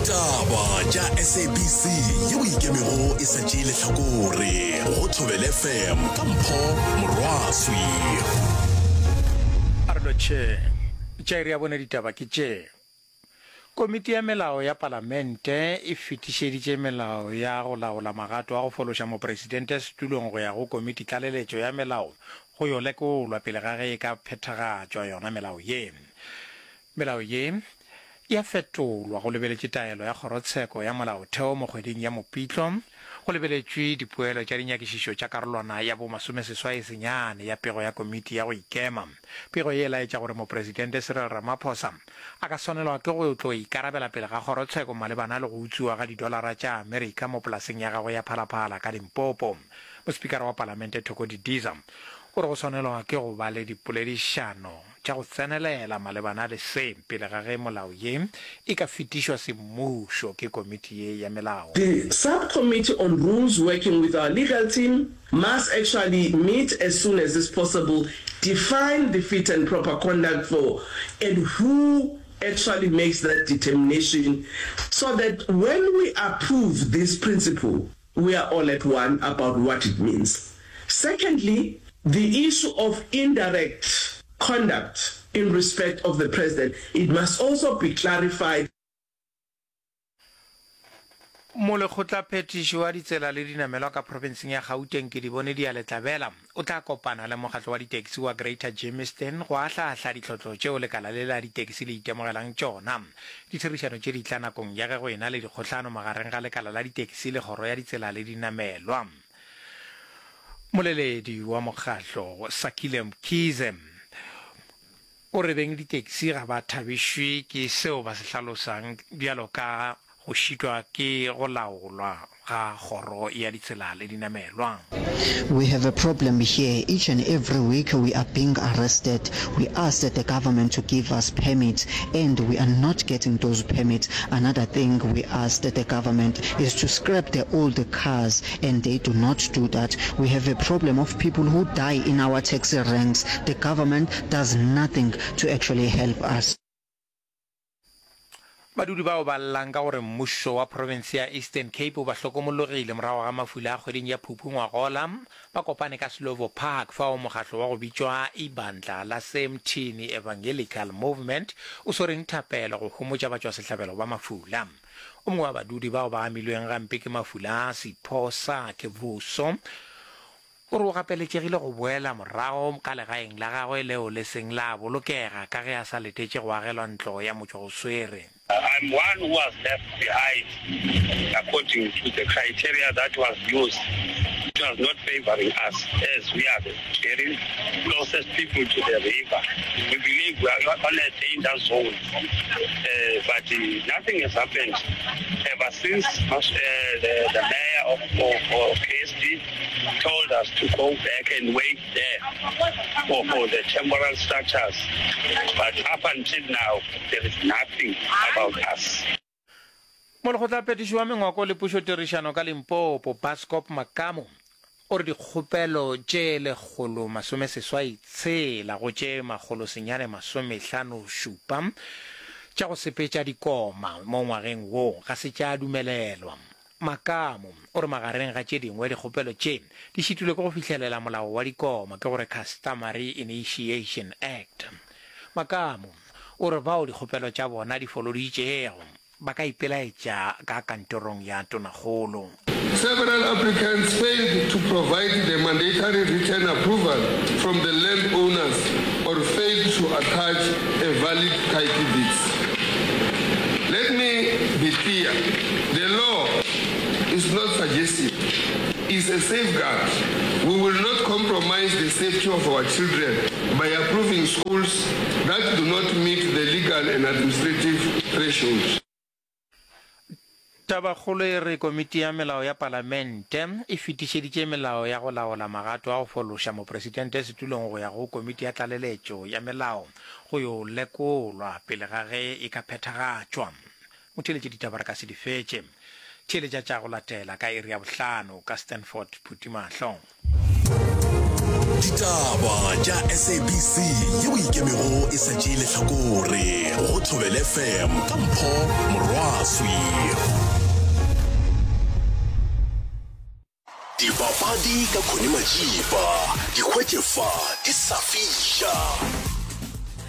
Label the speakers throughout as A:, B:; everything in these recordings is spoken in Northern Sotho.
A: Ditaba tša SABC yeo e ikemego e sa tšee lehlakore go Thobela FM ka Mpho Morwaswi.
B: A re lotšheng. Tša iri ya bone ditaba ke tše. Komiti ya Melao ya Palamente e fetišeditše melao ya go laola magato a go fološa mopresidente setulong go ya go Komiti Tlaleletšo ya Melao go yo lekolwa pele ga ge e ka phethagatšwa yona melao ye. Melao ye e a fetolwa go lebeletše taelo ya Kgorotsheko ya Molaotheo mo kgweding ya Mopitlo, go lebeletšwe dipoelo tša dinyakišišo tša karolwana ya bo masomeseswai-senyane ya pego ya Komiti ya go Ikema. Pego ye e laetša gore Mopresidente Cyril Ramaphosa a ka swanelwa ke go tlo ikarabela pele ga kgorotsheko malebana le go utswiwa ga didolara tša Amerika mo polaseng ya gagwe ya Phalaphala ka Limpopo. Mospikara wa Palamente Thoko Didiza o re go swanelwa ke go ba le dipoledišano tša go tsenelela malebana le se pele ga ge molao ye e ka fetišwa semmušo ke komiti ye ya melao.
C: The Subcommittee on Rules working with our legal team must actually meet as soon as is possible, define the fit and proper conduct for and who actually makes that determination so that when we approve this principle we are all at one about what it means. Secondly, the issue of indirect conduct in respect of the President, it must also be clarified.
B: Molekgotlaphethiši wa ditsela le dinamelwa ka profenseng ya Gauteng Kedibone Dialetlabela o tla kopana le mokgatlo wa ditekisi wa Greater Germiston go ahlaahla ditlhotlo tšeo lekala le la ditekisi le itemogelang tšona. Ditherišano tše di tla nakong ya ge go ena le dikgohlano magareng ga lekala la ditekisi le kgoro ya ditsela le dinamelwa. Moleledi wa mokgatlo Sakhile Mkhize o re beng ditekisi ga ba thabišwe ke seo ba se hlalosang bjalo ka go šitwa ke go laolwa ga kgoro ya ditsela le dinamelwa.
D: We have a problem here, each and every week we are being arrested, we asked the government to give us permits and we are not getting those permits, another thing we asked the government is to scrap the old cars and they do not do that, we have a problem of people who die in our taxi ranks, the government does nothing to actually help us.
B: Badudi bao ba llang ka gore mmušo wa profense ya Eastern Cape o ba hlokomologile morago ga mafula a kgweding ya Phuphu ngwagola, ba kopane ka Slovo Park fao mokgatlo wa go bitšwa Ibandla la Semthini Evangelical Movement o swereng thapelo go homotša batšwasehlabelo ba mafula. O mongwe wa badudi bao ba amilweng gampe ke mafula a, Sipho Sakhe Vuso, O re o gapeletšegile go boela morago ka legaeng la gagwe leo le seng la bolokega ka ge a sa letetše go agelwa ntlo ya motšwa-o-swere.
E: I'm one who was left behind according to the criteria that was used, it was not favouring us as we are the very closest people to the river. We believe we are on a danger zone but nothing has happened ever since the, the mayor of, of, of KSD told us to go back and wait there for, for the temporal structures. But up until now, there is nothing about us.
B: Molekgotlaphethiši wa Mengwako le Pušotirišano ka Limpopo, Bascop Makamu, o re dikgopelo tše 186 go tše 957 tša go sepetša dikoma mo ngwageng wo ga se tša dumelelwa. Makamu o re magareng ga tše dingwe dikgopelo tše di šitilwe ke go fihlelela molao wa dikoma, ke gore Customary Initiation Act. Makamu o re bao dikgopelo tša bona di foloditšego ba ka ipelaetša ka kantorong ya Tonakgolo.
F: Several applicants failed to provide the mandatory written approval from the land owners or failed to attach a valid title deeds. Let me be clear, the law is not suggestive, it's a safeguard. We will not compromise the safety of our children by approving schools that do not meet the legal and administrative thresholds.
B: Tabakgolo e re Komiti ya Melao ya Palamente e fetišeditše melao ya go laola magato a go fološa mopresidente setulong go ya go Komiti ya Tlaleletšo ya Melao go yo lekolwa pele ga ge e ka phethagatšwa. Motheeletši ditaba re ka se di fetše. Theeletša tša go latela ka iri ya bohlano ka Stanford Phutimahlo.
A: Ditaba tša SABC yeo ikemego e sa tšee lehlakore go Thobela FM ka Mpho Morwaswi. Maswi. Dipapadi ka Connie Majiba, di hwetše fa di sa fiša.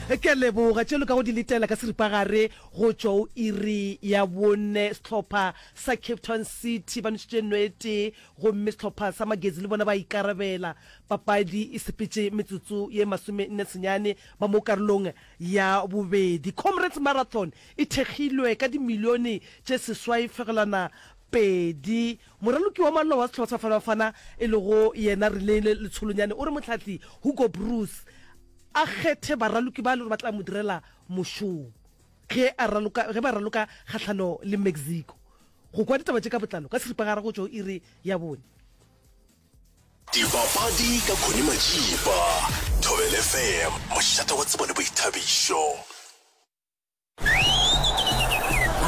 G: Ke a leboga tše loka go di letela ka seripagare go tšwa o iri ya bone. Sehlopha sa Cape Town City ba nwešitše no e tee gomme sehlopha sa Magezi le bona ba ikarabela. Papadi e sepetše metsotso ye 49 ba mo karolong ya bobedi. Comrades Marathon e thekgilwe ka dimilione tše 6.2. Moraloki wa maloba wa sehlopha sa Bafana Bafana e lego yena Reneilwe Letsholonyane o re mohlahli Hugo Broos a kgethe baraloki ba e le gore ba tla mo direla mošomo ge a raloka ge ba raloka kgahlano le Mexico. Go kwa ditaba tše ka botlalo ka seripagare go tšwa go iri ya bone.
A: Dipapadi ka Connie Majiba, Thobela FM, mošate wa tsebo le boithabišo.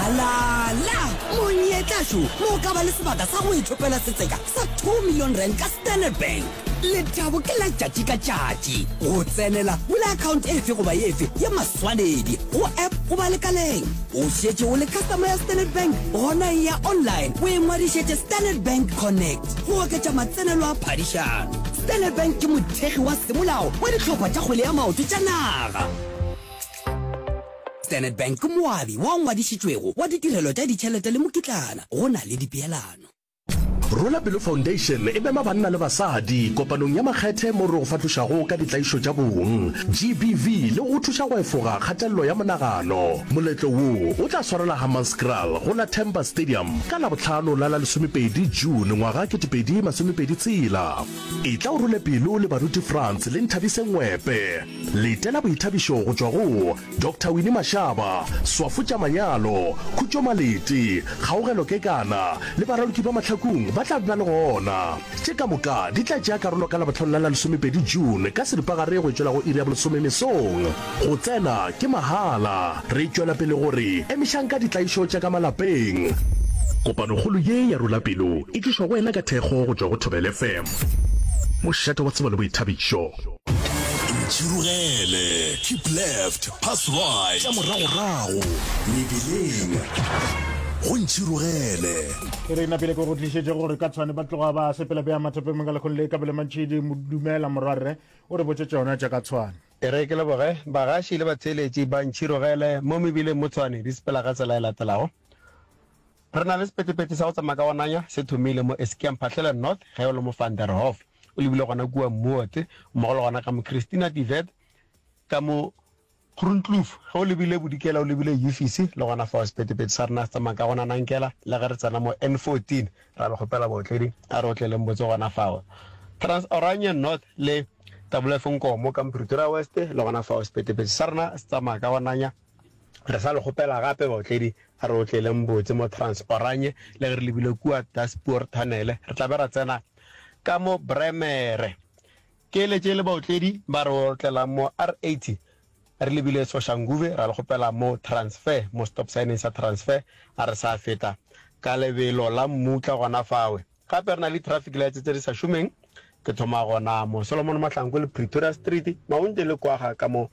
H: Alala! Monyetla šo mo o ka ba le sebaka sa go ithopela setseka sa 2 million rand ka Standard Bank. Lethabo ke la tšatši ka tšatši. Go tsenela, bula account efe goba efe ya maswanedi go app goba lekaleng. O šetše o le customer ya Standard Bank? Gona eya online o ingwadišetše Standard Bank Connect go oketša matsenelo a phadišano. Standard Bank ke mothekgi wa semolao wa dihlopha tša kgwele ya maoto tša naga. Standard Bank ke moabi wo ngwadišitšwego wa ditirelo tša ditšhelete le mokitlana go na le dipeelano.
A: Rola Pelo Foundation e mema banna le basadi kopanong ya makgethe mo re go fahlošago ka ditlaišo tša bong, GBV, le go go thuša go efoga kgatelelo ya monagano. Moletlo wo o tla swarelwa Hammanskraal go la Temba Stadium ka Labohlano la la lesomepedi June ngwaga 2026. Etla o role pelo le Baruti Frans le Nthabiseng Ngwepe. Letela boithabišo go tšwa go Doctor Winnie Mashaba, Swafo tša Manyalo, Khutšo Malete, Kgaogelo Kekana le baraloki ba Mahlakung ba tla be ba le gona. Tše ka moka di tla tšea karolo ka Labohlano la la lesomepedi June ka seripagare go tšwela go iri ya bolesome mesong. Go tsena ke mahala. Re tšwela pele go re emišang ka ditlaišo tša ka malapeng. Kopanokgolo ye ya Rola Pelo e tlišwa go wena ka thekgo go tšwa go Thobela FM, mošate wa tsebo le boithabišo. Ntšhirogele, keep left, pass right, tša moragorago, mebileng, go Ntšhirogele.
I: E re napile ke go tlišetše gore ka Tshwane ba tloga ba sepela bja mathapeng ka lekgong le Kabelo Mantšhidi dumela morwarre o re botše tšona tša ka Tshwane.
J: E re ke leboge bagaši le batheeletši ba Ntšhirogele mo mebileng mo Tshwane di sepela ka tsela e latelago. Re na le sephethephethe sa go tsamaya ka go nanya se thomile mo Eskia Mphahlele North ge o le mo Van der Hoff o lebile gona kua Moot mmogo le gona ka mo Christina de Wet ka mo Groenkloof ge o lebile bodikela o lebile Ufisi le gona fao sephethephethe sa rena se tsamaya ka go nanankela le ge re tsena mo N14 ra le kgopela baotledi a re otleleng botse gona fao Trans Oranje North le WF Nkomo ka mo Pretoria West le gona fao sephethephethe sa rena se tsamaya ka go nanya. Re sa le kgopela gape baotledi, a re otleleng botse mo Trans Oranje le ge re lebile kua Daspoort Tunnel, re tla be ra tsena ka mo Bremere. Keeletše le baotledi ba re otlelang mo R80 re lebile Soshanguve, ra le kgopela mo Transfer, mo stop sign-eng sa Transfer, a re sa feta ka lebelo la mmutla gona fawe. Gape re na le di-traffic lights tse di sa šomeng, ke thoma gona mo Solomon Mahlangu le Pretoria Street, Maunte le Kwaga ka mo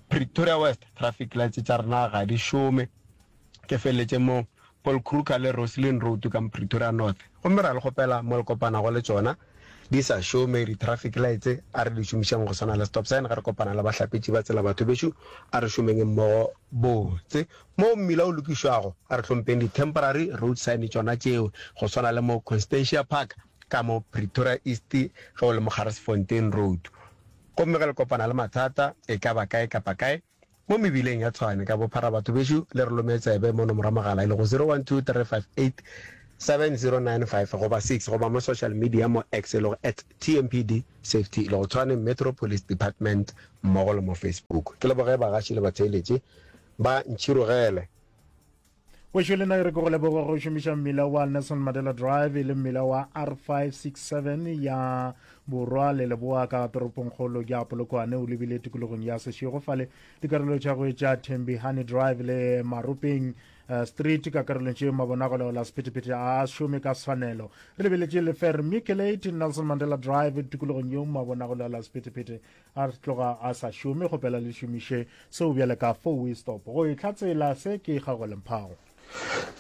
J: Pretoria West, traffic lights tša rena ga di šome. Ke feleletše mo Paul Kruger le Roslyn Road ka mo Pretoria North. Gomme ra le kgopela mo le kopanago le tšona di sa šome di-traffic lights, a re di šomišeng go swana le stop sign ge re kopana le bahlapetši ba tsela batho bešo, a re šomeng mmogo botse. Moo mmila o lokišwago, a re hlompeng di-temporary road sign tšona tšeo, go swana le mo Constantia Park ka mo Pretoria East ge o le mo Garsfontein Road. Gomme ge le kopana le mathata e ka ba kae kapa kae mo mebileng ya Tshwane ka bophara, batho bešo le re lome tsebe mo nomoro ya mogala e lego 0123587095 goba 6 goba mo social media mo X e lego at TMPD Safety e lego Tshwane Metro Police Department mmogo le mo Facebook. Ke leboge bagaši le batheeletši. Ba ntšhirogele.
I: Wešo le nna e re ke go leboga go šomiša mmila wa Nelson Mandela Drive e le mmila wa R567 ya Borwa le Leboa ka toropongkgolo ya Polokwane o lebile tikologong ya Seshego fale dikarolo tša go etša Thembihani Drive le Maropeng eh, Street ka karolong tše mabona go laola sephethephethe a šome ka tshwanelo. Re lebeletše le Vermiculate Nelson Mandela Drive tikologong yeo mabona go laola sephethephethe a tloga a sa šome kgopela le šomiše seo bjale ka four way stop go e hlatsela se ke Kgaogelo Mphago.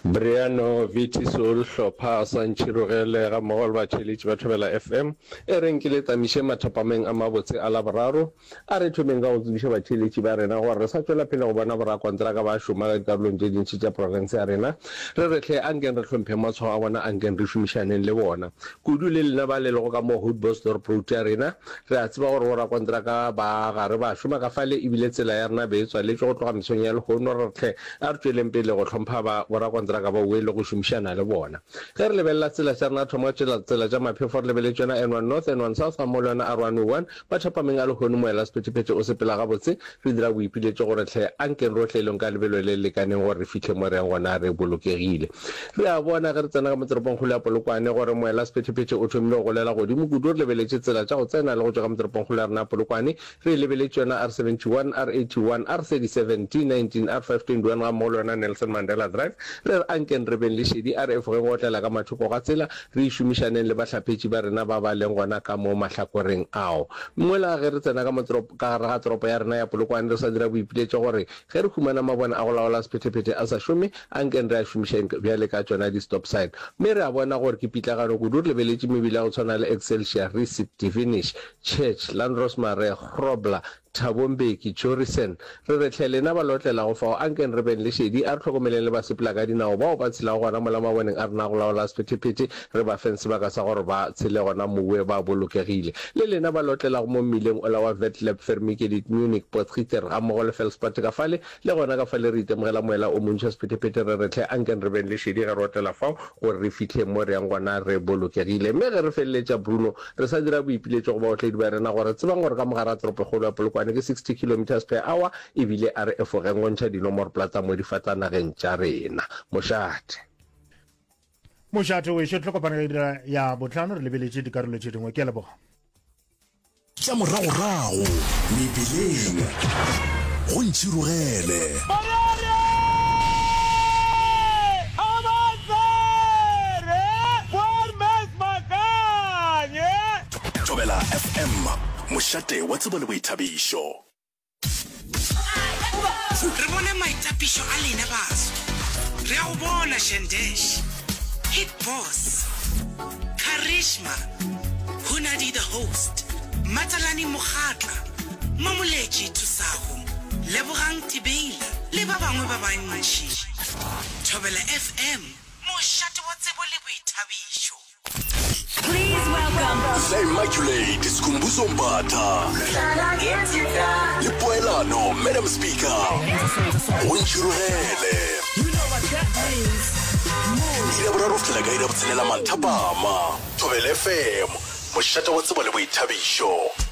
K: Briano Viti Soul Hlopha sa Ntšhirogele gammogo le batheeletši ba Thobela FM e reng ke le tamiše mathapameng a mabotse a Laboraro. A re thomeng ka go tsebiša batheeletši ba rena gore re sa tšwela pele go bona borakontraka ba šoma ka dikarolong tše dintši tša profense ya rena. Re re hle ankeng re hlompheng matshwao a bona ankeng re šomišaneng le bona. Kudu le lena ba le lego ka mo Houtbosdorp Road ya rena. Re a tseba gore borakontraka ba gare ba šoma ka fale ebile tsela ya rena be e tswaletšwe go tloga mesong ya lehono. Re re hle A re tšweleng pele go hlompha ba borakontraka ba oe le go šomišana le bona. Ge re lebelela tsela tša rena, thoma tšela tsela tša maphefo re lebeletše yona N1 North, N1 South gammogo le yona R101. Mathapameng a lehono moela sephethephethe o sepela gabotse. Re dira boipiletšo gore hle ankeng rohle e leng ka lebelo le le lekaneng gore re fihle mo re yang gona re bolokegile. Re a bona ge re tsena ka mo toropongkgolo ya Polokwane gore moela sephethephethe o thomile go golela godimo kudu. Re lebeletše tsela tša go tsena le go tšwa ka mo toropongkgolo ya rena ya Polokwane. Re e lebeletše yona R71, R81, R37, D19, R521 gammogo le yona Nelson Mandela Drive. Re re ankeng re beng le šedi, a re efogeng go otlela ka mathoko ga tsela, re e šomišaneng le bahlapetši ba rena ba ba leng gona ka mo mahlakoreng ao. Mola ge re tsena ka mo ka gare ga toropo ya rena ya Polokwane re sa dira boipiletšo gore ge re humana mabone a go laola sephethephethe a sa šome, ankeng re a šomišeng bjale ka tšona di-stop sign. Mme re a bona gore ke pitlagano kudu re lebeletše mebila ya go tshwana le Excelsior, Resit, Divinish, Church, Landros Marais, Grobler, Thabo Mbeki, Jorissen. Re re hle lena ba lotlelago fao, ankeng re beng le šedi, a re hlokomeleng le basepelakadinao bao ba tshelago gona mola maboneng a rena a go laola sephethephethe, re ba feng sebaka sa gore ba tshele gona mowe ba bolokegile. Le lena ba lotlelago mo mmileng ola wa Vetleb, Vermiekelit, Munich, Potgieter, gammogo le Felspate ka fale, le gona ka fale re itemogela moela o montši wa sephethephethe, re re hle ankeng re beng le šedi ge re otlela fao gore re fihle mo re yang gona re bolokegile. Mme ge re feleletša Bruno Re sa dira boipiletšo go baotledi ba rena gore tsebang gore ka mogare ga toropokgolo ya Polokwane ke 60 kilometres per hour ebile a re efogeng go ntšha dinomoroplata mo difatanageng tša rena. Mošate.
I: Mošate wešo, tlo kopana ka ira ya bohlano re lebeletše dikarolo tše dingwe. Ke a leboga.
A: Tša moragorago mebileng go ntšhirogele. Thobela FM, mošate wa tsebo le boithabišo.
L: Re bone maitapišo a lena baso. Re a go bona Shandesh, Hit Boss, Charisma, Hunadi the Host, Matsalani Mokgatla, Mamoletši Thusago, Lebogang Tibeila le ba bangwe ba bantši. Thobela FM, mošate wa tsebo le boithabišo.
M: Please welcome.
A: The Immaculate Skhumbuzo Mbatha le Poelano Madam Speaker go ntšhirogele iri ya boraro go fihlela ka iri ya botshelela manthapama. Thobela FM, mošate wa tsebo le boithabišo.